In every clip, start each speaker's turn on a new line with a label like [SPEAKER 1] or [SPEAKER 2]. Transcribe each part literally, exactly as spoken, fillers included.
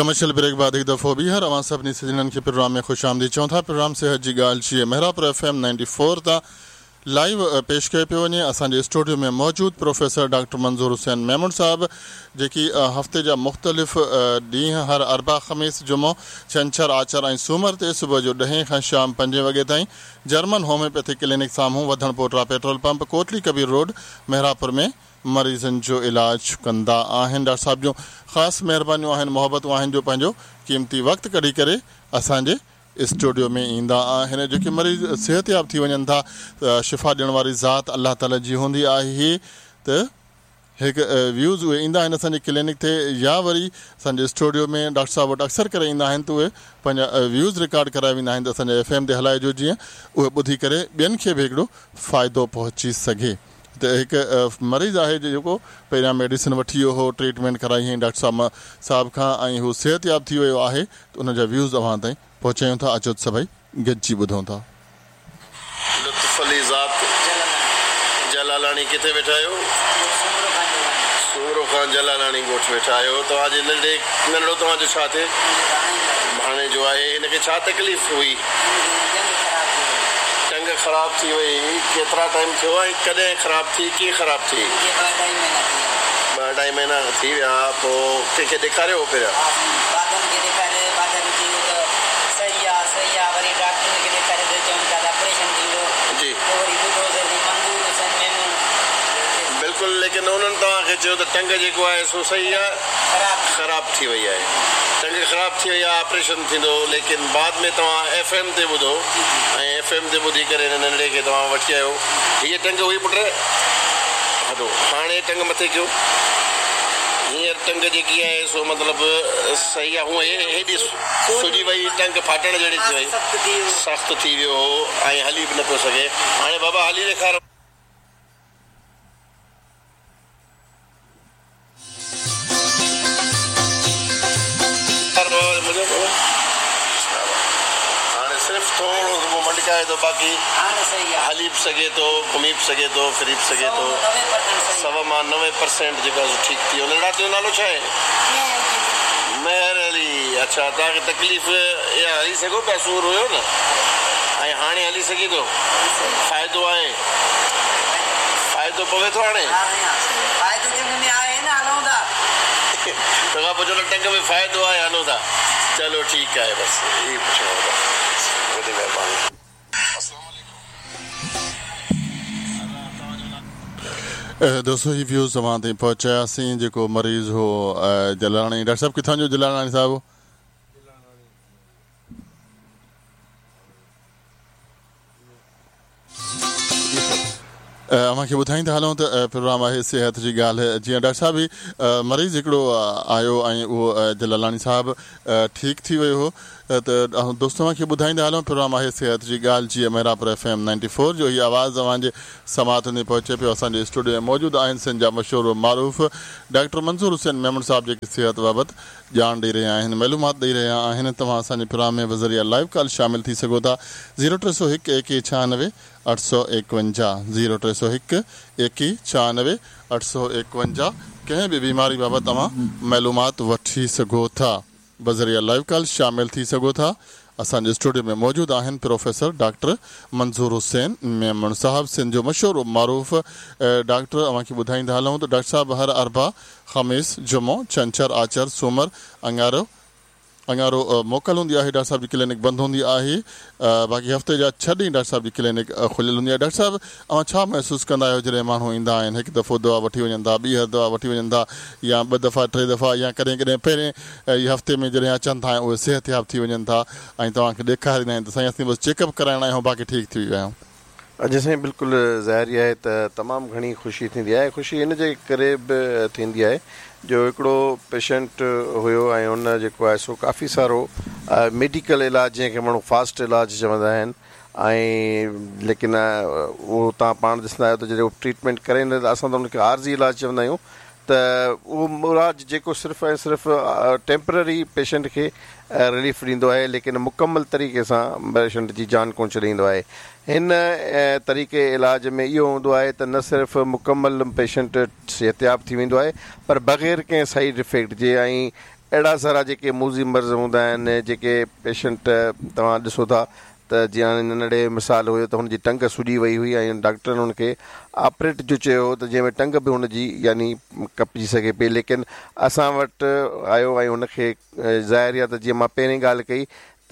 [SPEAKER 1] Commercial brake बाद एक दफ़ो ॿीहर अव्हां सभिनी सजणनि खे प्रोग्राम में ख़ुशि आमदीद चऊं था। प्रोग्राम सेहत जी ॻाल्हि जी Mehrapur F M ninety four तां लाइव पेश कयो पियो वञे। असांजे स्टूडियो में मौजूदु प्रोफेसर डॉक्टर मंज़ूर हुसैन मेमण साहब जेकी हफ़्ते जा मुख़्तलिफ़ ॾींहं हर अरबा ख़मीस जुमो छंछर आचर ऐं सूमर ते सुबुह जो ॾहें खां शाम पंजे वॻे ताईं जर्मन होम्योपैथी क्लिनिक साम्हूं Wadhan Pota petrol pump Kotli Kabir road Mehrapur में मरीज़नि जो इलाज कंदा आहिनि। डॉक्टर साहब जूं ख़ासि महिरबानियूं आहिनि, मोहबतूं आहिनि जो पंहिंजो क़ीमती वक़्तु कढी करे असांजे स्टूडियो में ईंदा आहिनि। जेके मरीज़ सिहतयाब थी वञनि था त शिफ़ा ॾियण वारी ज़ात अलाह ताला जी हूंदी आहे। त हिकु व्यूज़ उहे ईंदा आहिनि असांजे क्लिनिक ते या वरी असांजे स्टूडियो में डॉक्टर साहब वटि अक्सर करे ईंदा आहिनि त उहे पंहिंजा व्यूज़ रिकॉर्ड कराए वेंदा आहिनि त असांजे एफ एम ते हलाइजो जीअं उहे ॿुधी करे ॿियनि खे बि हिकिड़ो फ़ाइदो पहुची सघे। त हिकु मरीज़ आहे जेको पहिरियां मेडिसिन वठी वियो हो, ट्रीटमेंट कराई हुई डॉक्टर साहब साहब खां ऐं हू सिहतयाब थी वियो आहे त उन जा व्यूज़ अव्हां ताईं पहुचायूं था। अचो त सभई गॾिजी ॿुधूं था।
[SPEAKER 2] लुत्फ़ अली ज़ात जलालाणी किथे वेठा आहियो? सूमरो खान जलालाणी ॻोठ वेठा आहियो। तव्हांजे नंढे नंढो तव्हांजो छा थिए? भाणेजो आहे। हिनखे छा तकलीफ़ हुई? टंग ख़राब थी वई। केतिरा टाइम थियो ऐं कॾहिं ख़राब थी, कीअं ख़राब थी? ॿ अढाई महीना थी विया। पोइ कंहिंखे ॾेखारियो हो पहिरियां? जी बिल्कुलु। लेकिन उन्हनि तव्हांखे चयो त टंग जेको आहे सो सही आहे, ख़राब थी वई आहे, टंग ख़राब थी वई आहे, ऑपरेशन थींदो। लेकिन बाद में तव्हां एफ एम ते ॿुधो ऐं एफ एम ते ॿुधी करे हिन नंढे खे तव्हां वठी आयो। हीअ टंग हुई पुट, हलो हाणे टंग मथे कयो। हींअर टंग जेकी आहे सो मतिलबु सही आहे। हूअं हेॾी सुॼी वई, टंग फाटण जहिड़ी थी वई, सख़्तु थी वियो हो ऐं हली बि न पियो सघे। हाणे बाबा हली ॾेखारो। हाणे सिर्फ़ थोरो मटकाए थो, बाक़ी हली बि सघे थो, घुमी बि सघे थो, फिरी बि सघे थो। सव मां नवे परसेंट जेको आहे ठीकु थी वियो। नंढा तुंहिंजो नालो छा आहे? मेहर अली। अच्छा, तव्हांखे तकलीफ़ इहा हली सघो पिया? सूर हुयो न, ऐं हाणे हली सघे थो? फ़ाइदो आहे? फ़ाइदो पवे थो हाणे? तव्हां पुछो न टंग में फ़ाइदो आहे, हलो था। चलो ठीकु आहे, बसि इहो पुछणो हो। वॾी महिरबानी।
[SPEAKER 1] दोस्तों, ही व्यूज़ तव्हां ताईं पहुचायासीं। जेको मरीज़ हो जलालाणी, डॉक्टर साहब किथां जो जलालाणी साहिबु? अव्हांखे ॿुधाईंदा हलूं त प्रोग्राम आहे सिहत जी ॻाल्हि। जीअं डॉक्टर साहिब ही मरीज़ हिकिड़ो आयो ऐं उहो जलालाणी साहिबु ठीकु थी वियो हो। त दोस्तो अव्हांखे ॿुधाईंदा हलूं प्रोग्राम आहे सिहत जी ॻाल्हि जीअं Mehrapur F M ninety four जो हीअ आवाज़ तव्हांजे समाअतुनि ते पहुचे पियो। असांजे स्टूडियो में मौजूदु आहिनि सिंध जा मशहूर मारूफ़ डॉक्टर मंज़ूर हुसैन मेमण साहिबु जेके सिहत बाबति ॼाण ॾेई रहिया आहिनि, मालूमात ॾेई रहिया आहिनि। तव्हां असांजे प्रोग्राम में बज़रिया लाइव कॉल शामिल थी सघो था। ज़ीरो टे सौ हिकु एकवीह छियानवे अठ सौ एकवंजाह, ज़ीरो टे सौ हिकु एकवीह छियानवे अठ सौ एकवंजाह। कंहिं बि बीमारी बाबति तव्हां मालूमात वठी सघो था, बज़रिया लाइव कॉल शामिल थी सघो था। असांजे स्टूडियो में मौजूदु आहिनि प्रोफेसर डॉक्टर मंज़ूर हुसैन मेमण साहिबु, सिंध जो मशहूर मारूफ़ डॉक्टर। अव्हांखे ॿुधाईंदा हलूं त डॉक्टर साहिबु हर अरबा ख़मीस जुमो छंछर आचर सूमर अंगारो अंगारो मोकल हूंदी आहे, डॉक्टर साहिब जी क्लिनिक बंदि हूंदी आहे। बाक़ी हफ़्ते जा छह ॾींहं डॉक्टर साहिब जी क्लिनिक खुलियल हूंदी आहे। डॉक्टर साहिबु अव्हां छा महसूसु कंदा आहियो जॾहिं माण्हू ईंदा आहिनि, हिकु दफ़ो दवा वठी वञनि था, ॿीहर दवा वठी वञनि था, या ॿ दफ़ा टे दफ़ा, या कॾहिं कॾहिं पहिरें हफ़्ते में जॾहिं अचनि था ऐं उहे सिहतयाब थी वञनि था ऐं तव्हांखे ॾेखारींदा आहिनि त साईं असीं बसि चेकअप कराइणा आहियूं, बाक़ी ठीकु थी विया आहियूं?
[SPEAKER 2] अॼु साईं बिल्कुलु ज़ाहिर आहे त तमामु घणी ख़ुशी थींदी आहे। ख़ुशी हिन जे करे बि थींदी आहे जो हिकिड़ो पेशेंट हुयो ऐं उन जेको आहे सो काफ़ी सारो मेडिकल इलाज, जंहिंखे माण्हू फास्ट इलाज चवंदा आहिनि, ऐं लेकिन उहो तव्हां पाण ॾिसंदा आहियो त जॾहिं उहो ट्रीटमेंट करे न त असां त हुनखे आर्ज़ी इलाज चवंदा आहियूं। त उहो इलाज जेको सिर्फ़ु ऐं सिर्फ़ु टेम्पररी पेशेंट खे रिलीफ ॾींदो आहे, लेकिन मुकमल तरीक़े सां पेशेंट जी जान कोन छॾींदो आहे। हिन तरीक़े इलाज में इहो हूंदो आहे त न सिर्फ़ु मुकमल पेशेंट सिहतयाब थी वेंदो आहे, पर बग़ैर कंहिं साइड इफ़ेक्ट जे ऐं اهڙا سارا جيڪي موذي مرض هوندا آهن، جيڪي پيشنٽ توهان ڏسو ٿا ته جيئن هاڻي ننڍڙي مثال هيو ته هن جي ٽنگ سڄي وئي هئي ۽ ڊاڪٽرن هن کي آپريٽ جو چيو هو ته جنهن ۾ ٽنگ به هن جي يعني ڪپجي سگهي پئي، ليڪن اسان وٽ آيو ۽ هن کي ظاهر آهي ته جيئن مان پهرين ڳالهه ڪئي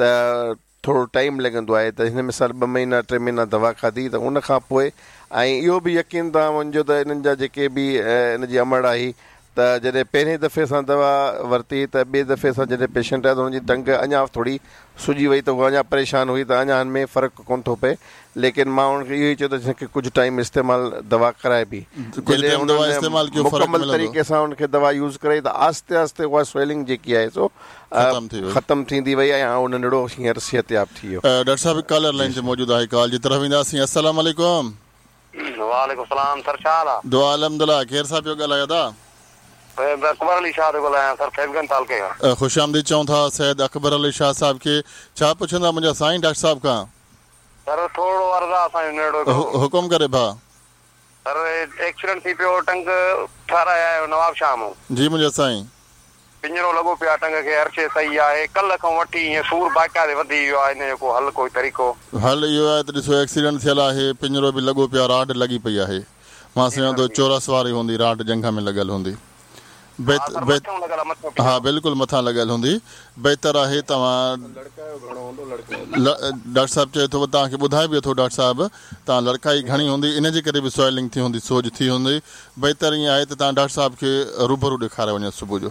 [SPEAKER 2] ته ٿورو ٽائيم لڳندو آهي ته هن مثال ٻه مهينا ٽي مهينا دوا کاڌي ته ان کان پوء ۽ اهو به يقين توهان مڃجو ته انهن جا جيڪي به ان جي امڙ آئي ته جڏهن پهرين دفعي سان دوا ورتي ته ٻئي دفعي سان جڏهن پيشنٽ آيو ته هن جي ٽنگ اڃا ٿوري سڄي وئي ته هوء اڃا پريشان هئي ته اڃا هن ۾ فرق ڪونه ٿو پئي، ليڪن مان هن کي اهو ئي چيو ته هن کي ڪجهه ٽائيم استعمال دوا ڪرائبي، جڏهن هنن مڪمل طريقي سان هن کي دوا يوز ڪرائي ته آهستي آهستي اها سويلنگ جيڪي آهي سو ختم ٿيندي وئي ۽ اهو ننڍڙو هينئر صحتياب ٿي ويو.
[SPEAKER 1] ڊاڪٽر صاحب ڪالر لائين تي موجود آهي، ڪال جي طرف وينداسين. السلام عليڪم.
[SPEAKER 3] وعليڪم السلام سر، ڇا حال آ؟
[SPEAKER 1] دعا الحمدلله. ڪير صاحب پيو ڳالهايو ادا؟
[SPEAKER 3] اڪبر علي شاهه ٿو ڳالهايان سر، فيض گنج تعلقي کان.
[SPEAKER 1] خوش آمديد چئون ٿا سيد اڪبر علي شاهه صاحب کي. ڇا پڇندا منهنجا سائين ڊاڪٽر صاحب کان؟
[SPEAKER 3] سر ٿورڙو عرض آ اسان جو ننڍڙو هڪڙو.
[SPEAKER 1] حڪم ڪري ڀاء.
[SPEAKER 3] سر ايڪسيڊنٽ ٿي پيو، ٽنگ ٺهرائي آيو نواب شاهه مون.
[SPEAKER 1] جي منهنجا سائين.
[SPEAKER 3] پڃرو لڳو پيو آ ٽنگ کي، هر شيء صحيح آهي، ڪلهه کان وٺي ائين سور باقاعدي وڌي ويو آهي، ان جو ڪو حل ڪوئي طريقو؟
[SPEAKER 1] حل اهو آهي ته ڏسو ايڪسيڊنٽ ٿيل آهي، پڃرو به لڳو پيو آ، راڊ لڳي پئي آهي، مان سمجهان ٿو چورس واري هوندي، راڊ ڄنگهه ۾ لڳل هوندي. ها بلڪل مٿان لڳل هوندي. بهتر آهي توهان ڊاڪٽر صاحب چئي ٿو توهان کي ٻڌائي به اٿو ڊاڪٽر صاحب توهان لڙڪائي گهڻي هوندي ان جي ڪري به سويلنگ ٿي هوندي، سوڄ ٿي هوندي. بهتر ائين آهي ته توهان ڊاڪٽر صاحب کي روبرو ڏيکاري وڃو صبح جو.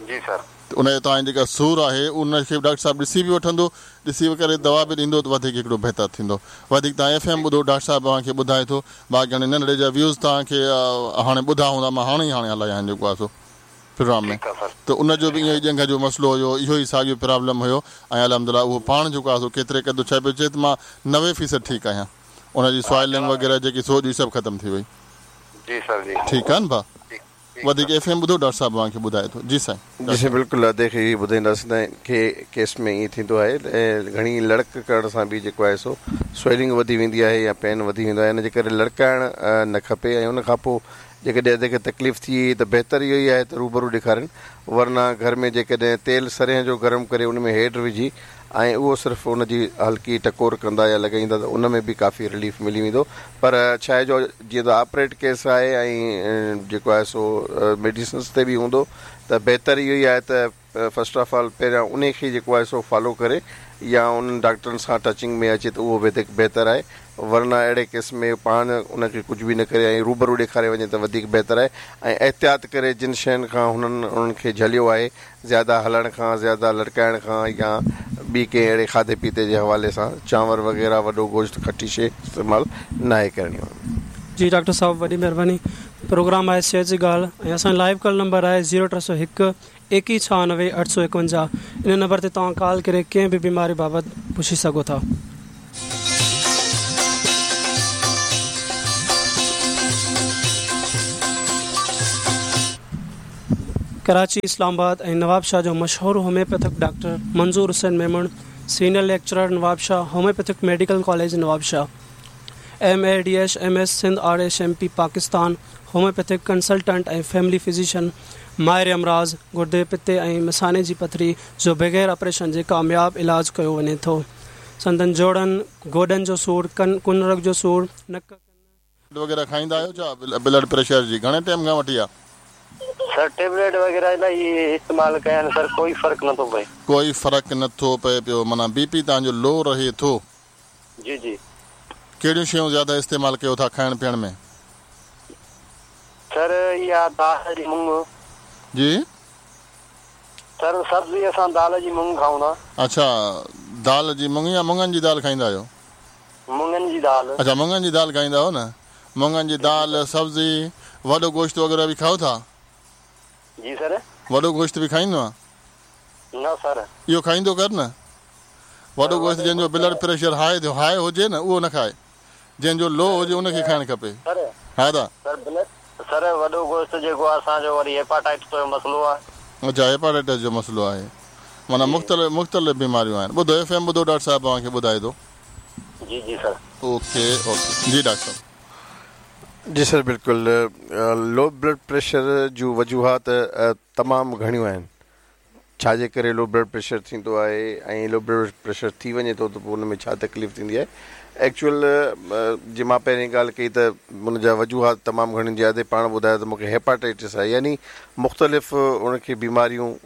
[SPEAKER 3] جي سر.
[SPEAKER 1] ته ان جو توهان جيڪا سور آهي ان کي به ڊاڪٽر صاحب ڏسي به وٺندو، ڏسي ڪري دوا به ڏيندو ته وڌيڪ هڪڙو بهتر ٿيندو. وڌيڪ توهان ايف ايم ٻڌو، ڊاڪٽر صاحب اوهان کي ٻڌائي ٿو. باقي هاڻي ننڍڙي جا ويوز توهان کي هاڻي ٻڌا هوندا، مان هاڻي ئي هاڻي هلايا آهن جيڪو آهي سو پروگرام ۾، ته ان جو به اهو ئي ڄنگهه جو مسئلو هيو، اهو ئي ساڳيو پرابلم هيو ۽ الحمدلله اهو پاڻ جيڪو آهي سو ڪيتري قدر ڇا پيو چئي ته مان نوي فيصد ٺيڪ آهيان، ان جي سوائلنگ وغيره جيڪي سوڄ هئي سڀ ختم ٿي وئي.
[SPEAKER 3] جي سر جي.
[SPEAKER 1] ٺيڪ آهي نه ڀاء؟ وڌيڪ ايف ايم ٻڌو، ڊاڪٽر صاحب اوهان کي ٻڌائي ٿو. جي سائين.
[SPEAKER 2] جي سائين بلڪل ادي کي اهو ٻڌائينداسين ته کي ڪيس ۾ ائين ٿيندو آهي گهڻي لڙڪ ڪرڻ سان به جيڪو آهي سو سويلنگ وڌي ويندي آهي يا پين وڌي ويندو آهي، ان جي ڪري لڙڪائڻ نه کپي ۽ ان کان پوء جيڪڏهن ادي کي تڪليف ٿي ته بهتر اهو ئي آهي ته روبرو ڏيکارين، ورنه گهر ۾ جيڪڏهن تيل سرنهن جو گرم ڪري ان ۾ هيڊ وجهي ۽ اهو صرف ان جي هلڪي ٽڪور ڪندا يا لڳائيندا ته ان ۾ به ڪافي رليف ملي ويندو. پر ڇا آهي جو جيئن ته آپريٽ ڪيس آهي ۽ جيڪو آهي سو ميڊيسنس تي به هوندو ته بهتر اهو ئي آهي ته فرسٽ آف آل پهريان ان کي جيڪو آهي سو فالو ڪري يا انهن ڊاڪٽرن سان ٽچنگ ۾ اچي ته اهو وڌيڪ بهتر آهي، ورنه اهڙي ڪيس ۾ پاڻ ان کي ڪجهه به نه ڪري ۽ روبرو ڏيکاري وڃي ته وڌيڪ بهتر آهي ۽ احتياط ڪري جن شين کان هنن انهن کي جهليو آهي، زياده هلڻ کان، زياده لڙڪائڻ کان يا ٻي ڪنهن اهڙي کاڌي پيتي جي حوالي سان چانور وغيره وڏو گوشت کٽي شيء استعمال ناهي ڪرڻي.
[SPEAKER 4] جي ڊاڪٽر صاحب وڏي مهرباني. پروگرام آهي صحت جي ڳالهه ۽ اسان جو لائيو ڪال نمبر آهي زيرو ٽي سؤ هڪ ايڪيهه ڇهانوي اٺ سؤ ايڪونجاهه. ان نمبر تي توهان ڪال ڪري ڪنهن به بيماري بابت پڇي سگهو ٿا. ڪراچي، اسلام آباد ۽ نوابشاهه جو مشهور homeopathic doctor Manzoor Hussain Memon, senior lecturer Nawabshah, homeopathic medical college Nawabshah, M A D H M S Sindh R H M P Pakistan, homeopathic consultant ۽ family physician, ماهر امراض، گردي، پتي ۽ مثاني جي پٿري جو بغير آپريشن جي ڪامياب علاج ڪيو وڃي ٿو. سندن جوڙن، گوڏن جو سور، ڪن ڪنرگ جو سور، نڪ ڪن.
[SPEAKER 1] وغيره کائيندا آهيو ڇا بلڊ پريشر جي گهڻي ٽائيم کان وٺي آ؟
[SPEAKER 3] سر ٽيبليٽ وغيره الاهي استعمال ڪيا آهن سر، ڪوئي فرق نٿو پئي.
[SPEAKER 1] ڪوئي فرق نٿو پئي پيو، معنيٰ بي پي توهان جو لو رهي ٿو.
[SPEAKER 3] جي جي.
[SPEAKER 1] ڪهڙيون شيون زياده استعمال ڪيو ٿا کائڻ پيئڻ ۾؟
[SPEAKER 3] سر اها دال جي مڱ.
[SPEAKER 1] جي.
[SPEAKER 3] سر سبزي اسان دال جي مڱ کائون ٿا.
[SPEAKER 1] اڇا دال جي مڱ يا مڱن جي دال کائيندا آهيو؟
[SPEAKER 3] مڱن جي دال.
[SPEAKER 1] اڇا مڱن جي دال کائيندا آهيو نه. مڱن جي دال، سبزي، وڏو گوشت وغيره به کائو ٿا؟
[SPEAKER 3] جي سر.
[SPEAKER 1] وڏو گوشت به کائيندو آهين؟
[SPEAKER 3] نه سر.
[SPEAKER 1] اهو کائيندو ڪر نه. وڏو گوشت جنهن جو بلڊ پريشر هاء ٿيو هاء هجي نه اهو نه کائي، جنهن جو لو هجي ان کي کائڻ کپي.
[SPEAKER 3] سر
[SPEAKER 1] ها دا.
[SPEAKER 3] سر بلڊ سر وڏو گوشت جيڪو اسان جو وري هيپاٽائٽس جو مسئلو آهي.
[SPEAKER 1] اڇا هيپاٽائٽس جو مسئلو آهي، معنيٰ مختلف مختلف بيماريون آهن. ٻڌو ايف ايم ٻڌو ڊاڪٽر صاحب اوهان کي ٻڌائي ٿو.
[SPEAKER 3] جي جي سر.
[SPEAKER 1] اوڪي اوڪي جي ڊاڪٽر صاحب.
[SPEAKER 2] جي سر بلڪل. لو بلڊ پريشر جون وجوهات تمام گهڻيون آهن. ڇا جي ڪري لو بلڊ پريشر ٿيندو آهي ۽ لو بلڊ پريشر ٿي وڃي ٿو ته پوءِ ان ۾ ڇا تڪليف ٿيندي آهي. ايڪچوئل جيئن مان پهرين ڳالهه ڪئي ته ان جا وجوهات تمام گهڻيون زياده پاڻ ٻڌايو ته مون کي هيپاٽائٽس آهي، يعني مختلف ان کي بيماريون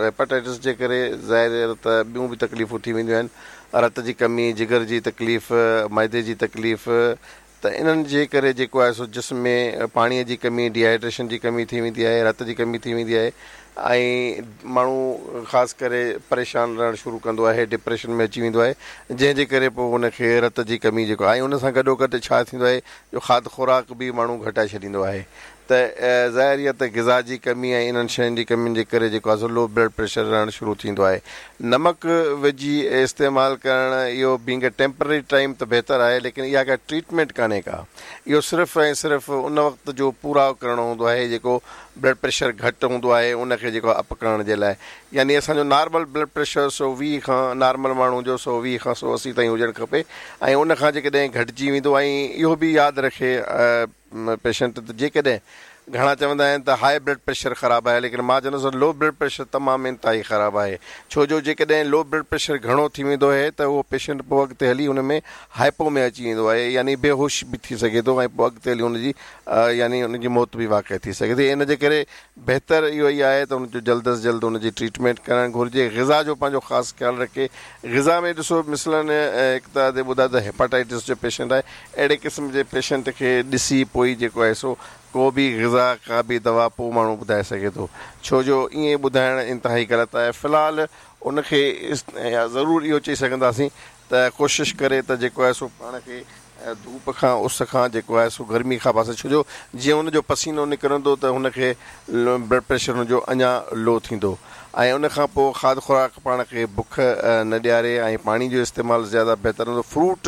[SPEAKER 2] هيپاٽائٽس جي ڪري ظاهر ته ٻيون به تڪليفون ٿي وينديون آهن، رت جي ڪمي، جگر جي تڪليف، معدي جي تڪليف، ته انهن جي ڪري جيڪو آهي سو جسم ۾ پاڻيءَ جي ڪمي، ڊيهائيڊريشن جي ڪمي ٿي ويندي آهي، رت جي ڪمي ٿي ويندي آهي ۽ ماڻهو خاص ڪري پريشان رهڻ شروع ڪندو آهي، ڊپريشن ۾ اچي ويندو آهي، جنهن جي ڪري پوءِ ان کي رت جي ڪمي جيڪو آهي ان سان گڏو گڏ ڇا ٿيندو آهي جو کاڌ خوراڪ به ماڻهو گهٽائي ڇڏيندو آهي. ته ظاهر اها ته غذا جي ڪمي ۽ انهن شين جي ڪمين جي ڪري جيڪو آهي سو لو بلڊ پريشر رهڻ شروع ٿيندو آهي. نمڪ وجهي استعمال ڪرڻ اهو بينگ ا ٽيمپرري ٽائيم ته بهتر آهي، ليڪن اها ڪا ٽريٽمينٽ ڪانهي ڪا، اهو صرف ۽ صرف ان وقت جو پورا ڪرڻو هوندو آهي جيڪو بلڊ پريشر گهٽ هوندو آهي ان کي جيڪو اپ ڪرڻ جي لاءِ. يعني اسان جو نارمل بلڊ پريشر سؤ ويهه کان نارمل ماڻهو جو سؤ ويهه کان سؤ اسي تائين هجڻ کپي ۽ ان کان جيڪڏهن گهٽجي ويندو ۽ اهو به ياد رکي پيشنٽ ته جيڪڏهن گهڻا چوندا آهن ته هاءِ بلڊ پريشر خراب آهي، ليڪن مان چوندس لو بلڊ پريشر تمام انتهائي خراب آهي، ڇو جو جيڪڏهن لو بلڊ پريشر گهڻو ٿي ويندو آهي ته اهو پيشنٽ پوءِ اڳتي هلي هن ۾ هائپو ۾ اچي ويندو آهي، يعني بيهوش به ٿي سگهي ٿو ۽ پوءِ اڳتي هلي هن جي يعني هن جي موت به واقع ٿي سگهي ٿي. ان جي ڪري بهتر اهو ئي آهي ته هن جو جلد از جلد هن جي ٽريٽمينٽ ڪرڻ گهرجي. غذا جو پنهنجو خاص خيال رکي. غذا ۾ ڏسو مثلاً هڪ ته ٻڌايو ته هيپاٽائٽس جو پيشنٽ آهي، اهڙي قسم جي پيشنٽ کي ڏسي پوءِ جيڪو آهي سو ڪو به غذا ڪا به دوا پوءِ ماڻهو ٻڌائي سگهي ٿو، ڇو جو ائين ٻڌائڻ انتهائي غلط آهي. في الحال ان کي ضرور اهو چئي سگهنداسين ته ڪوشش ڪري ته جيڪو آهي سو پاڻ کي ڌوپ کان، اس کان جيڪو آهي سو گرمي کان پاسي، ڇو جو جيئن هن جو پسينو نڪرندو ته هن کي بلڊ پريشر هن جو اڃا لو ٿيندو ۽ ان کان پوءِ کاڌ خوراڪ پاڻ کي بک نه ڏياري ۽ پاڻي جو استعمال زياده بهتر هوندو. فروٽ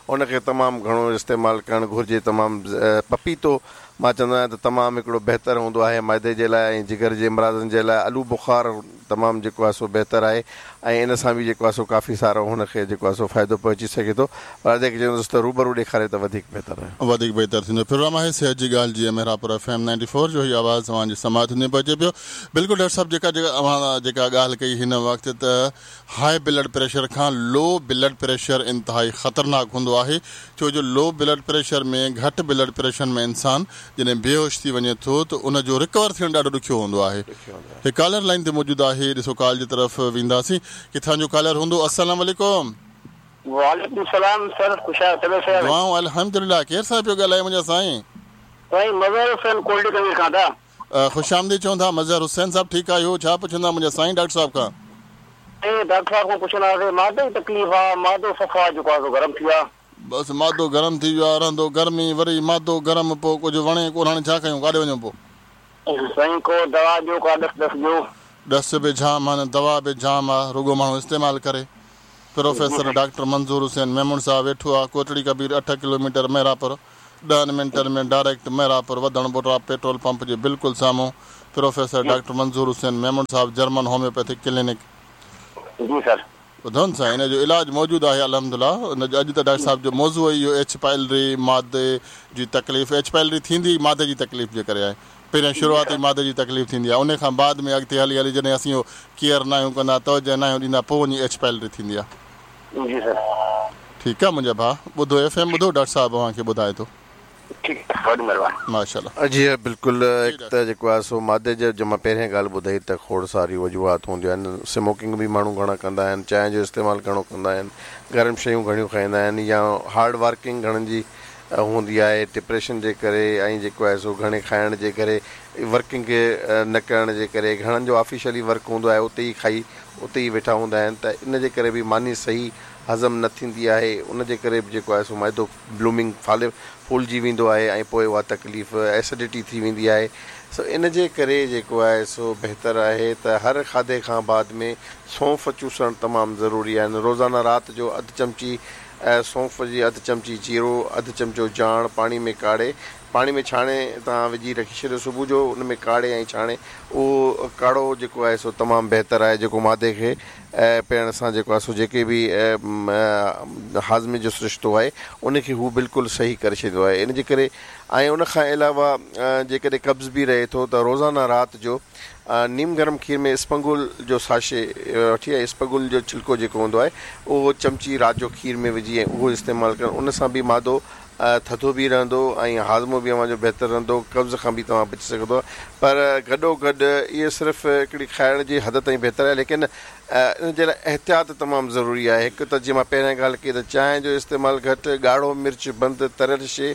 [SPEAKER 2] هن کي تمام گهڻو استعمال ڪرڻ گهرجي، تمام پپيتو مان چوندو آهيان ته تمام هڪڙو بهتر هوندو آهي معدي جي لاءِ ۽ جگر جي امراضن جي لاءِ. آلو بخار تمام جيڪو آهي سو بهتر آهي ۽ ان سان به جيڪو آهي سو ڪافي سارو هن کي جيڪو آهي سو فائدو پهچي سگهي ٿو. پر جيڪي چوندس ته روبرو ڏيکاري ته وڌيڪ بهتر آهي،
[SPEAKER 1] وڌيڪ بهتر ٿيندو. پروگرام آهي صحت جي ڳالهه جي Mehrabpur F M ninety four جو هي آواز توهان جي سماعت ۾ پهچي پيو. بلڪل ڊاڪٽر صاحب، جيڪا جيڪا اوهان جيڪا ڳالهه ڪئي هن وقت ته هاءِ بلڊ پريشر کان لو بلڊ پريشر انتهائي خطرناڪ هوندو آهي، ڇو جو لو بلڊ پريشر ۾ گهٽ بلڊ پريشر ۾ انسان جڏهن بيهوش ٿي وڃي ٿو ته ان جو رڪور ٿيڻ ڏاڍو ڏکيو هوندو آهي. هي ڪالر لائن تي موجود آهي، ڏسو ڪال جي طرف وينداسين، ڪٿان جو ڪالر هوندو. السلام عليڪم.
[SPEAKER 5] وعليڪم السلام سر، خوش آهيو؟ طبيعت صحيح آهي؟
[SPEAKER 1] دعائون الحمدلله. ڪير صاحب پيو ڳالهائي منهنجا سائين؟
[SPEAKER 5] سائين مظهر حسين ڪولڊي ڪمير کان ٿا.
[SPEAKER 1] خوش آمديد چون ٿا مظهر حسين صاحب، ٺيڪ آهيو؟ ڇا پڇندا منهنجا سائين ڊاڪٽر صاحب کان؟
[SPEAKER 5] ڊاڪٽر صاحب کان پڇندا هئاسين، معدي جي تڪليف آهي، معدو صفا جيڪو آهي سو گرم ٿي ويو آهي.
[SPEAKER 1] بس معدو گرم ٿي ويو آهي، رهندو گرمي وري معدو گرم، پوءِ ڪجهه وڻي ڪونه، هاڻي ڇا ڪيون، ڪاڏي وڃون پوءِ؟
[SPEAKER 5] سائين ڪو دوا ڏيو، ڪا ڏس ڏس ڏيو.
[SPEAKER 1] ڏس به جام آهن، دوا به جام آهي، رڳو ماڻهو استعمال ڪري. پروفيسر ڊاڪٽر منظور حسين ميمڻ صاحب ويٺو آهي ڪوٽڙي ڪبير اٺ ڪلو ميٽر مهراپور، ڏهن منٽن ۾ ڊائريڪٽ مهراپور وڌڻ بوٽرا پيٽرول پمپ جي بلڪل سامهون. پروفيسر ڊاڪٽر منظور حسين ميمڻ صاحب، جرمن هوميوپيٿڪ ڪلينڪ.
[SPEAKER 5] جي سر،
[SPEAKER 1] ٻڌو نه سائين، هن جو علاج موجود آهي الحمدلله. ان جو اڄ ته ڊاڪٽر صاحب جو موضوع ئي اهو ايڇ پائلري مادي جي تڪليف. ايڇ پائلري ٿيندي مادي جي تڪليف جي ڪري آهي، پهريان شروعات ئي مادي جي تڪليف ٿيندي آهي، ان کان بعد ۾ اڳتي هلي هلي جڏهن اسين اهو ڪيئر نه آهيون ڪندا، توجهه نه آهيون ڏيندا، پوءِ وڃي ايڇ پائلري ٿيندي آهي.
[SPEAKER 5] جي سر،
[SPEAKER 1] ٺيڪ آهي منهنجا ڀاءُ، ٻڌو ايف ايم ٻڌو، ڊاڪٽر صاحب اوهان کي ٻڌائي ٿو. ماشاءالله.
[SPEAKER 2] جي بلڪل، هڪ ته جيڪو آهي سو مادي جو جو مان پهرين ڳالهه ٻڌائي ته کوڙ ساريون وجوهات هونديون آهن. سموڪنگ به ماڻهو گهڻا ڪندا آهن، چانهه جو استعمال گهڻو ڪندا آهن، گرم شيون گهڻيون کائيندا آهن، يا هارڊ ورڪنگ گهڻن جي هوندي آهي ڊپريشن جي ڪري ۽ جيڪو آهي سو گهڻي کائڻ جي ڪري، ورڪنگ نه ڪرڻ جي ڪري، گهڻن جو آفيشلي ورڪ هوندو آهي اتي ئي کائي اتي ئي ويٺا هوندا آهن، ته ان جي ڪري به ماني صحيح هضم نه ٿيندي آهي، ان جي ڪري به جيڪو آهي سو معدو بلومنگ فالي ڦولجي ويندو آهي ۽ پوءِ اها تڪليف ايسڊٽي ٿي ويندي آهي. سو ان جي ڪري جيڪو آهي سو بهتر آهي ته هر کاڌي کان بعد ۾ سونف چوسڻ تمام ضروري آهن. روزانه رات جو اڌ چمچي سونف جي، اڌ چمچي جيرو، اڌ چمچو جاڻ پاڻي ۾ ڪاڙهي، پاڻي ۾ ڇاڻي توهان وجهي رکي ڇڏيو، صبح جو ان ۾ ڪاڙهي ۽ ڇاڻي اهو ڪاڙهو جيڪو آهي سو تمام بهتر آهي، جيڪو معدي کي پيئڻ سان جيڪو آهي سو جيڪي به هاضمي جو سرشتو آهي ان کي هو بلڪل صحيح ڪري ڇڏيندو آهي. ان جي ڪري ۽ ان کان علاوه جيڪڏهن قبض به رهي ٿو ته روزانه رات جو نيم گرم کير ۾ اسپنگول جو ساشي وٺي ۽ اسپگول جو ڇلڪو جيڪو هوندو آهي اهو چمچي رات جو کير ۾ وجهي ۽ اهو استعمال ڪرڻ، ان سان به مادو ٿڌو به رهندو ۽ هاضمو به اوهان جو بهتر رهندو، قبض کان به توهان بچي سگهندو. پر گڏو گڏ اهو صرف هڪڙي کائڻ جي حد تائين بهتر آهي، ليڪن ان جي لاءِ احتياط تمام ضروري آهي. هڪ ته جيئن مان پهريان ڳالهه ڪئي ته چانهه جو استعمال گهٽ، ڳاڙهو مرچ بند، تريل شيءِ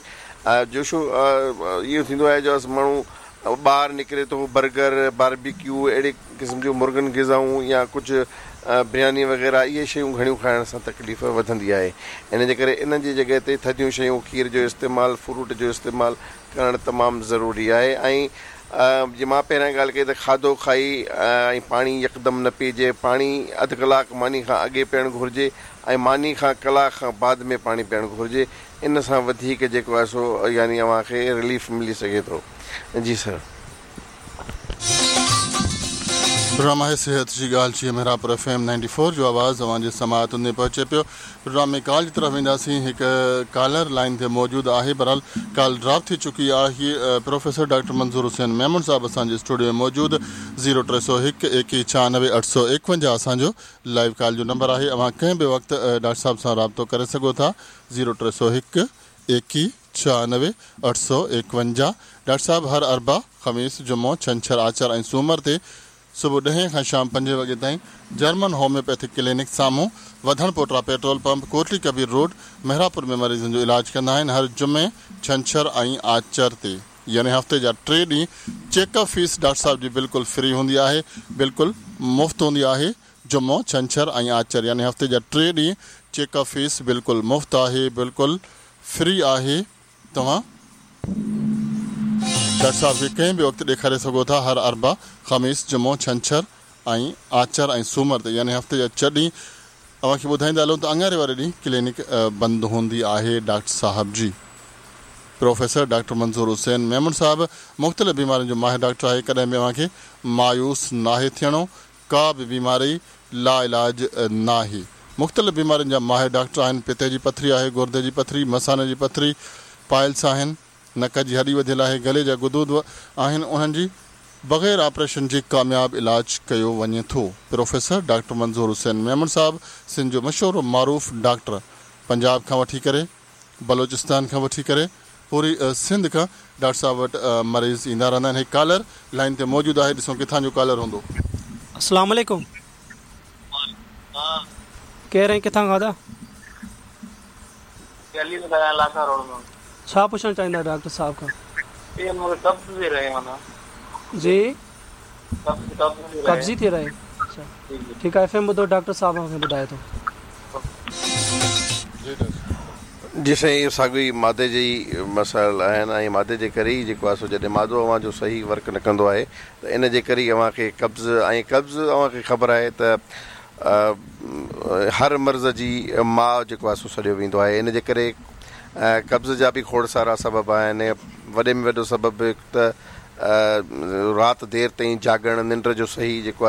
[SPEAKER 2] جو شو اهو ٿيندو آهي جو ماڻهو ٻاهر نڪري ٿو برگر، باربيڪيو اهڙي قسم جون مرغن غذائون يا ڪجهه برياني وغيره اهي شيون گهڻيون کائڻ سان تڪليف وڌندي آهي. ان جي ڪري انهن جي جڳهه تي ٿڌيون شيون، کير جو استعمال، فروٽ جو استعمال ڪرڻ تمام ضروري آهي. ۽ جيئن مان پهريان ڳالهه ڪئي ته کاڌو کائي ۽ پاڻي يڪدم نه پيئجي، پاڻي اڌ ڪلاڪ ماني کان اڳي پيئڻ گهرجي ۽ ماني کان ڪلاڪ کان بعد ۾ پاڻي پيئڻ گهرجي. ان سان وڌيڪ جيڪو آهي سو يعني اوهان کي رليف ملي سگهي ٿو. جي سر.
[SPEAKER 1] پروگرام آهي صحت جي ڳالهه جي Mehrabpur F M ninety four جو آواز اوهان جي سماعتن ۾ پهچي پيو. پروگرام ۾ ڪال جي طرف وينداسين. هڪ ڪالر لائن تي موجود آهي، بهرحال ڪال ڊراپ ٿي چڪي آهي. پروفيسر ڊاڪٽر منظور حسين ميمڻ صاحب اسان جي اسٽوڊيو ۾ موجود. زيرو ٽي سؤ هڪ ايڪيهه ڇهانوي اٺ سؤ ايڪونجاهه اسان جو لائيو ڪال جو نمبر آهي. اوهان ڪنهن به وقت ڊاڪٽر صاحب سان رابطو ڪري سگهو ٿا. زيرو ٽي سؤ هڪ ايڪيهه ڇهانوي اٺ سؤ ايڪونجاهه. ڊاڪٽر صاحب هر اربع، خميس، جمعو، ڇنڇر، آچر ۽ سومر تي صبح ڏهين کان شام پنجين وڳي تائين جرمن هوميوپيٿڪ ڪلينڪ سامهون وڌڻ پوٽرا petrol pump, Kotli Kabir road, Mehrabpur ۾ مريضن جو علاج ڪندا آهن. هر جمعي، ڇنڇر ۽ آچر تي يعني هفتي جا ٽي ڏينهن چيڪ اپ فيس ڊاڪٽر صاحب جي بلڪل فري هوندي آهي، بلڪل مفت هوندي آهي. جمعو، ڇنڇر ۽ آچر يعني هفتي جا ٽي ڏينهن چيڪ اپ فيس بلڪل مفت آهي، بلڪل فري آهي. توهان ڊاڪٽر صاحب کي ڪنهن به وقت ڏيکاري سگهو ٿا. هر اربع، خميس، جمعو، ڇنڇر ۽ آچر ۽ سومر تي يعني هفتي جا ڇهه ڏينهن. اوهان کي ٻڌائيندا هلون ته اڱاري واري ڏينهن ڪلينڪ بند هوندي آهي ڊاڪٽر صاحب جي. پروفيسر ڊاڪٽر منظور حسين ميمڻ صاحب مختلف بيمارين جو ماهر ڊاڪٽر آهي. ڪڏهن به اوهان کي مايوس ناهي ٿيڻو، ڪا به بيماري لا علاج ناهي. مختلف بيمارين جا ماهر ڊاڪٽر آهن. پتي جي پٿري آهي، گردي جي پٿري، مثاني جي پٿري، پائلس آهن، نڪ جي هڏي وڌيل آهي، گلي جا غدود آهن، انهن جي بغير آپريشن جي ڪامياب علاج ڪيو وڃي ٿو. پروفيسر ڊاڪٽر منظور حسين ميمڻ صاحب سنڌ جو مشهور و معروف ڊاڪٽر، پنجاب کان وٺي ڪري بلوچستان کان وٺي ڪري پوري سنڌ کان ڊاڪٽر صاحب وٽ مريض ايندا رهندا آهن. هڪ ڪالر لائن تي موجود آهي، ڏسون ڪٿان جو ڪالر هوندو.
[SPEAKER 4] السلام عليڪم. ڪير ۽ ڪٿان کان ٿا؟ ڇا پڇڻ چاهيندا ڊاڪٽر صاحب کان؟ جي قبضي ٿي رهي. اڇا ٺيڪ آهي، ايف ايم ٻڌو، ڊاڪٽر صاحب کي ٻڌائي ٿو.
[SPEAKER 2] جي سائين، اهو ساڳيو ئي مادي جي ئي مسائل آهن ۽ مادي جي ڪري ئي جيڪو آهي سو جڏهن مادو اوهان جو صحيح ورڪ نه ڪندو آهي ته ان جي ڪري ئي اوهان کي قبض ۽ قبض اوهان کي خبر آهي ته هر مرض جي ماءُ جيڪو آهي سو سڏيو ويندو آهي. ان جي ڪري قبض جا به کوڙ سارا سبب آهن. وڏي ۾ وڏو سبب هڪ ته رات دير تائين جاڳڻ، ننڊ جو صحيح جيڪو